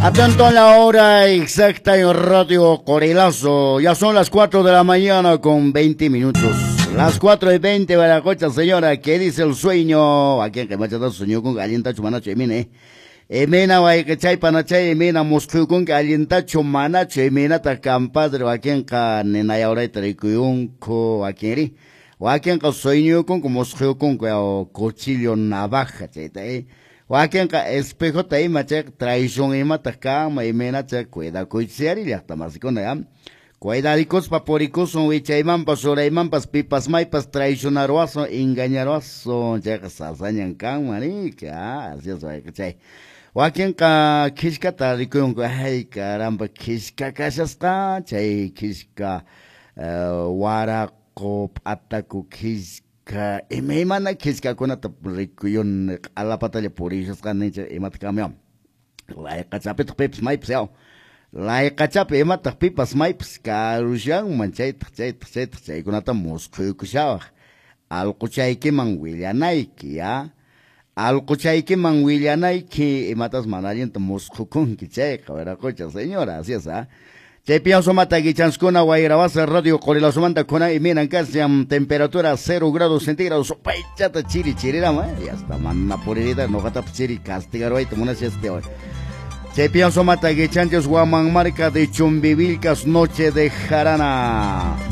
Atento a la hora exacta en Radio Corelazo. Ya son las 4 de la mañana con 20 minutos. Las 4:20, Baracocha, señora. ¿Qué dice el sueño? ¿A quién que machata sueño con allintachu manachu emine? Emina wayqichay panachay emina musqhuykunki allintachu manachu eminata compadre wakinqa ninayawrayta rikuyunku wakinri wakinqa sueñuykunku musqhuykunku yaw cuchillo navaja chayta wakinqa espejota ima chayqa traición imataq kanman imaynacha cuidakuychis ari llaqta masikuna ya cuidarikuspa purikusun wichaymanpas uraymanpas pipas maypas traicionaruwasun engañaruwasun chayqa sasañan kanman riki así es wayqichay wakinqa khishkata rikuyunku ay caramba khishka kashasqa chay khishka waraqu p'ataku khishka imaymana khishkakunata rikuyuni q'alapatalla purishasqani imata kanman layqachapitaq pipas maypas yaw layqachapi imataq pipas maypas karushanman chaytaq chaytaq chaytaq chaykunata musqhuykushawaq alquchaykiman willanayki ya alquchaykiman willanayki imatas mana allinta musqhukunki chayqa wiraqucha señora así es ah chaypi sumata guichanskuna wayrawasa Radio Qorilazomanta kuna iminan kashan temperatura 0 grados centígrados paychata chiri chirirama y hasta mana puririta noqatapas chiri castigaruwayta munasha este hoy. Chaypi sumata guichanchis Huamanmarca de Chumbivilcas, noche de jarana.